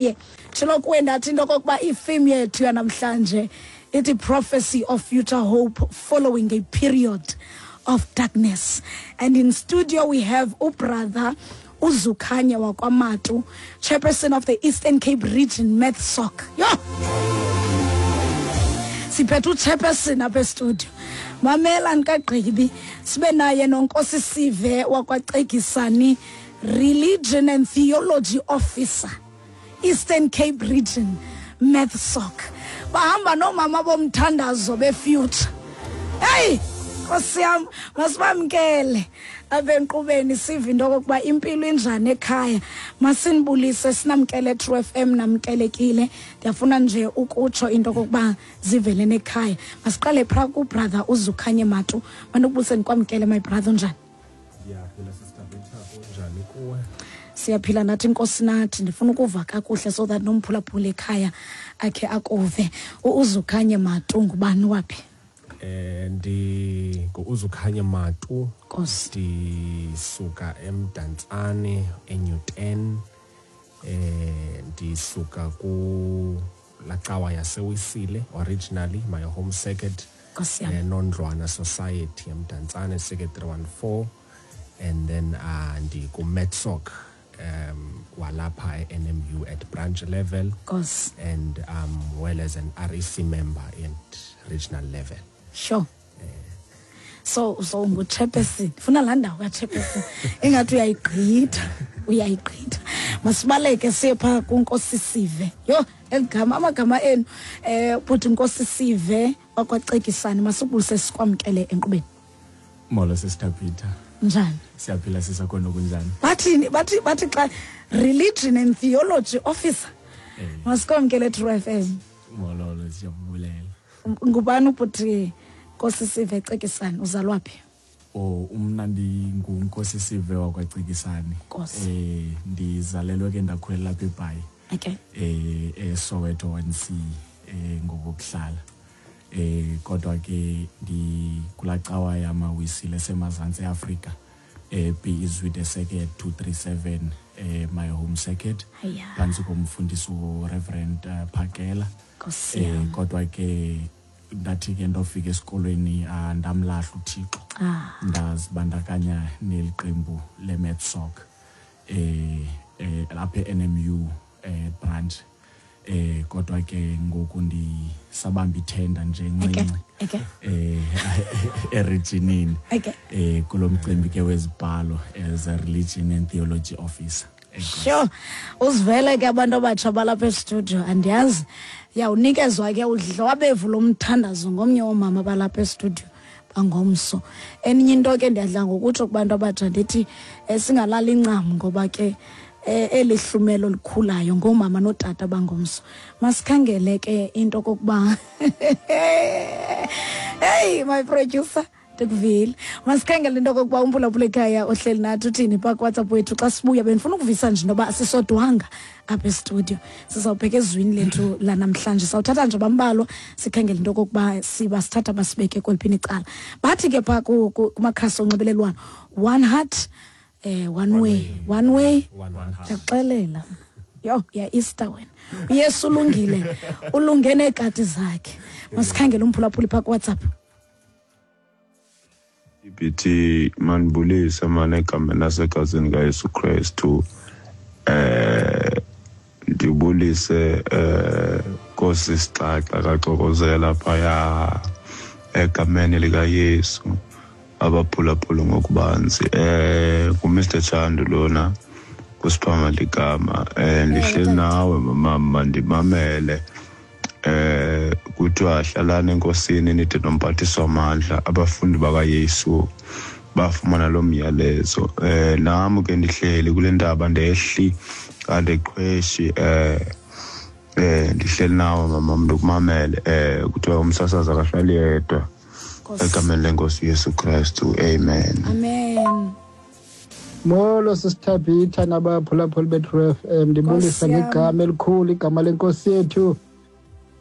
Ye tshilo kuwe ndathi into okokuba ifilm yethu yanamhlanje ithi prophecy of future hope following a period of darkness. And in studio we have ubrother uZukhanye wakwaMatu, chairperson of the Eastern Cape Region MathSoc. Yho! Siphethe uchairperson apha estudio. Mamela ndikagqibi sibe naye noNkosi Sive wakwaCekisani, Religion and Theology Officer, Eastern Cape Region MathSoc. Bahamba noomama bomthandazo befuture. Hey, Nkosi yam, masibamkele apha enkqubeni sive into okokuba impilo injani ekhaya. Masinibulise sinamkele True FM, namkelekile. Ndiyafuna nje ukutsho into okokuba zivele nekhaya. Masiqale pha kubrother uZukhanye Matu. Mandikubulise ndikwamkele my brother, unjani? Ndiyaphila Sister Victor, kunjani kuwe? Siyaphila nathi Nkosi nathi. Ndifuna ukuva kakuhle so that nomphulaphula ekhaya akhe akuve. UZukhanye Matu ngubani waphi? Ndi nguZukhanye Matu. Nkosi. Ndisuka eMdantsane eNewton. Ndisuka ku lacawa yaseWisile originally my home circuit. Nkosi yam. Nondlwana Society eMdantsane circuit 314, and then ndiku MetSoc walapha e-NMU at branch level. Nkosi. And well as an REC member at regional level. Sure. So ngu-chairperson. Funa laa ndawo ka-chairperson. Ingathi uyayigqitha, uyayigqitha. Masibaleke siye phaa kuNkosi Sive. Yho, eli gama, amagama enu. Bhuti Nkosi Sive wakwaCekisani, masibulise sikwamkele enkqubeni. Molo Sister Peter. Njani? Siyaphila sisakhona, kunjani? Bathini? Bathi xa religion and theology officer. Masikwamkele True FM. Molo, siyabulela. Ngubani ubhuti Nkosi Sive Cekisani, uzalwa phi? Oh, umna ndinguNkosi Sive wakwaCekisani. Nkosi. Ndizalelwe ke ndakhulela lapha eBhayi. Okay. eSoweto 1C ngokokuhlala. Kodwa ke ndikulacawa yamaWisile semazantsi eAfrika. B Zwide Circuit 237, my home circuit. Aya. Phantsi komfundisi uReverend Phakela. Nkosi yam. Kodwa ke ndathi ke ndofika esikolweni, ndamlahla uThixo. Ndazibandakanya neli qembu leMetsoc lapha e-NMU branch. Kodwa ke ngoku ndisabamba ithenda nje encinci. Okay. Erijinini. Okay. Kulo mcimbi ke wezibhalo as a religion and theology officer. Sure. Uzivele ke abantu abatsha balapha estudio, andiyazi. Yawunikezwa ke udlwabevu lomthandazo ngomnye woomama balapha estudio bangomso. Eninye into ke ndiyadla ngokutsho kubantu abatsha ndithi singalali incam ngoba ke eli hlumelo likhulayo ngoomama nootata bangomso. Masikhangele ke into kokuba hey my producer ndikuvile. Masikhangele into kokuba umphulaphula ekhaya ohleli nathi uthini phaa kuWhatsApp wethu xa sibuya. Bendifuna ukuvisa nje intoba sisodwanga apha estudio. Sizawubheka ezwini lethu lanamhlanje. Sawuthatha nje bambalwa sikhangele into kokuba siba sithatha basibeke kweliphini icala. Bathi ke phaa kumakhasi onxibelelwano, one heart, one way, one way. One heart. Ndiyakuxelela. Yho, ya Easter wena. uYesu ulungile, ulunge neekati zakhe. Masikhangele umphulaphuli phaa kuWhatsApp. Ibithi manibulise mane egameni lasegazini kaYesu Kristu. Ndibulise Nkosi Sixaxa kaXokozela phaya egameni likaYesu, abaphulaphula ngokubanzi. NguMr Chandu lona kuSiphamandla ligama. Ndihleli nawe mama, ndimamele. Kuthiwa hlalani enkosini nide nomphathiswa amandla. Abafundi bakaYesu bafumana lo myalezo. Nam ke ndihleli kule ntaba, ndehli andiqhweshi. Ndihleli nawe mama, ndikumamele. Kuthiwa umsasazi akahlali yedwa. Nkosi. Egameni lenkosi uYesu Kristu, amen. Amen. Molo Sisithabitha nabaphulaphuli beTrue FM, ndibulisa Nkosi yam. ngegama elikhulu, igama lenkosi yethu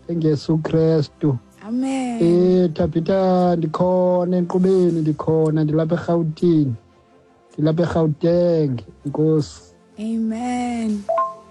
engeYesu Kristu. Amen. Thabitha, ndikhona enkqubeni, ndikhona, ndilapha eRhawutini, ndilapha eGauteng. Inkosi. Amen.